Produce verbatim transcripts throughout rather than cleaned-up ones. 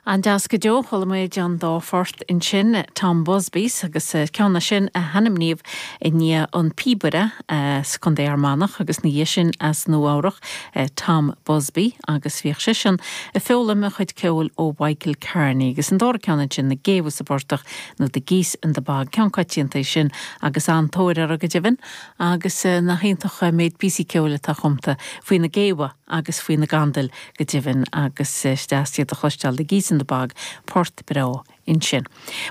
An-deas go deo. Chuala muid an dá phort ansin, Tom Busby's agus ceann sin a hainmníodh i ndiaidh an píobaire as Contae Fhear Manach agus ina dhiaidh sin as Nua-Eabhrac, Tom Busby, agus bhíodh seisean ag foghlaim a chuid ceoil ó Michael Carney, agus an dara ceann ansin, Na Géabha sa bPortach nó The Geese in the Bog, ceann coitianta é sin agus an-tóir air go deimhin, agus nach iontach méid píosaí ceoil atá cumtha faoi na géabha agus faoi na gandail go deimhin, agus is deas iad a chloisteáil. The Geese in the Bog, port breá ansin.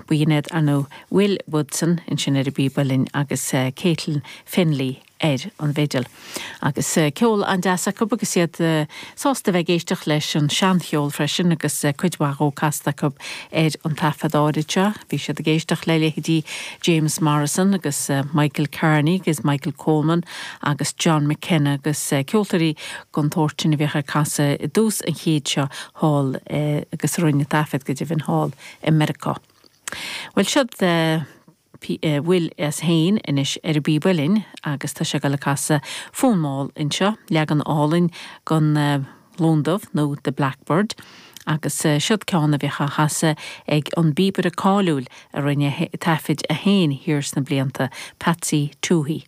B'in iad ar ndóigh Will Woodson ansin ar an bpíb uilleann agus Caitlin Fennelly ar an bhfidil. Agus ceol an-deas acu agus iad sásta bheith ag éisteacht leis an seancheol freisin agus cuid mhaith dhó casta acu ar an taifead áirid seo. Bhí siad ag éisteacht le leithéidí James Morrison agus Michael Carney agus Michael Coleman agus John McKenna agus ceoltóirí den tsórt sin a bhíodh ag casadh i dtús an chéid seo thall agus a rinne taifead go deimhin thall i Meiriceá. Bhuel, siod Will as féin anois ar an bpíb uilleann agus tá sé ag dul ag casadh fonn mall anseo, leagan álainn den Lon Dubh nó The Blackbird, agus siod ceann a bhíodh á chasadh ag an bpíobaire cáiliúil a rinne taifid é féin thiar sna blianta, Patsy Touhey.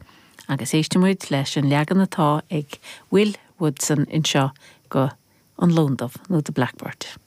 Agus éistfidh muid leis an leagan atá ag Will Woodson anseo go An Lon Dubh nó The Blackbird.